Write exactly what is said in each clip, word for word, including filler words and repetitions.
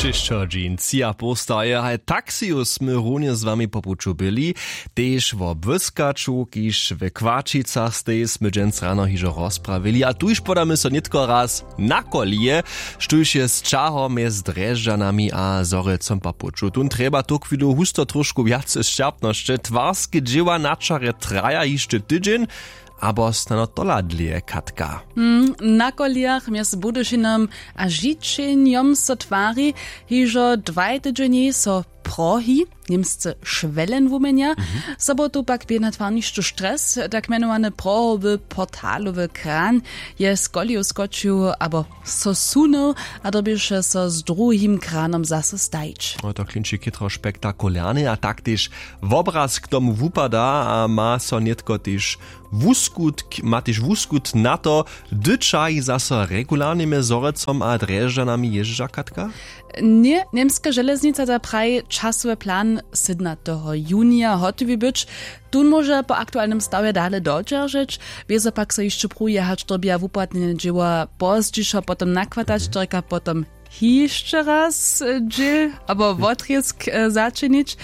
Hišćo dźeń tři a poł staje haj taksiju smy runje z wami po puću byli, tež wo błyskaću kiž w kłaćicach stej smy dźens rano hižo rozprawili a tuž podamy so nětko raz na kolije, štóž je z ćahom mjez drježdźanami a zhorjelcom po puću tón trjeba tuchwilu husto trošku wjace sćerpnosće twarske dźěła na čarje traja hišće tydźeń. Abo snano tola dlěje katka. Na kolijach mjez budyšinom a žićenjom so twari, hižo dwaj tydźenjej so prohi, němsce šwelen wuměnja. Sobotu pak bě na twarnišću stres, tak mjenowany prohowy portalowy kran je z koleju skočił abo so sunył a dyrbješe so z druhim kranom zaso stajić. No to klinči chětro spektakularne a tak tež wobraz k tomu wupada a ma so nětko tež wuskutk ma tež wuskutk na to, hdy ćahi zaso regularnimi zhorjelcom a drježdźanami jězdźa katka? Ně, němska železnica da praji časowy plan sydnateho junija hotowi być. Tón móže po aktualnym stawje dale dodźeržeć, wězo pak so hišće pruje hač dyrbja wupłatnjene dźěła pozdźišo potom nakwatać to rěka potom hišće raz dźěl abo wotrězk začinić.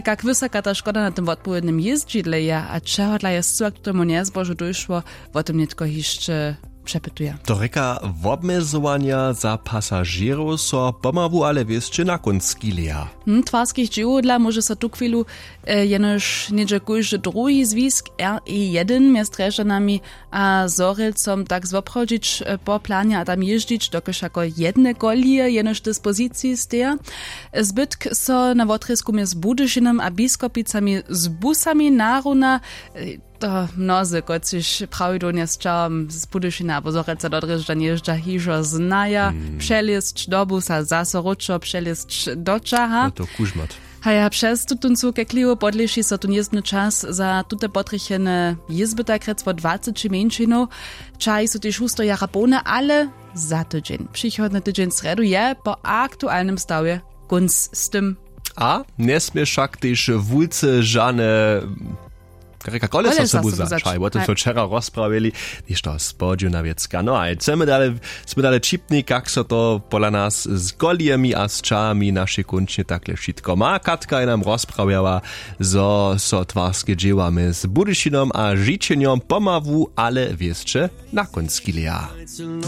Kak wysoka ta škoda na tym wotpowědnym jězdźidle je a čehodla je scyła k tomu njezbožu dóšło, wo tym nětko hišće přepytuja. To rěka wobmjezowanja za pasažěrow so pomału ale wěsće na kónc skileja. Hm twarskich dźěłow dla móže so tuchwilu jenož něhdźe kóždy druhi zwisk r e jedyn mjez drježdźanami a zhorjelcom tak zwoprawdźić po planje a tam jězdźić dokelž jako jedne kolije jenož k dispoziciji steja. Zbytk so na wotrězku mjez budyšinom a biskopicami z busami naruna. To mnozy kotřiž prawidłownje z ćahom z budyšina abo zhorjelca do drježdźa njězdźa hižo znaja, přelězć do busa zaso wróćo přelězć do ćaha. To kužmat. Haja přez tutón suw kekliwu podleši so tón jězbny čas za tute potrjechene jězby tak rjec wot dwaceći mjeńšinow. Ćahi su tež husto jara połne ale za tydźeń přichodny tydźeń srjedu je po aktualnym stawje kónc z tym. A njesmě wšak tež wulce žane rěka kolesa sobu začaj wo tym so wčera rozprawili. Něšto spodźiwna wěcka no a chcemy dale smy dale ćipni kak so to pola nas z kolijemi a z ćahami našej kónčnje takle wšitko ma katka je nam rozprawjała, zo so twarske dźěła mjez budyšinom a žićenjom pomału ale wěsće na kónc skileja.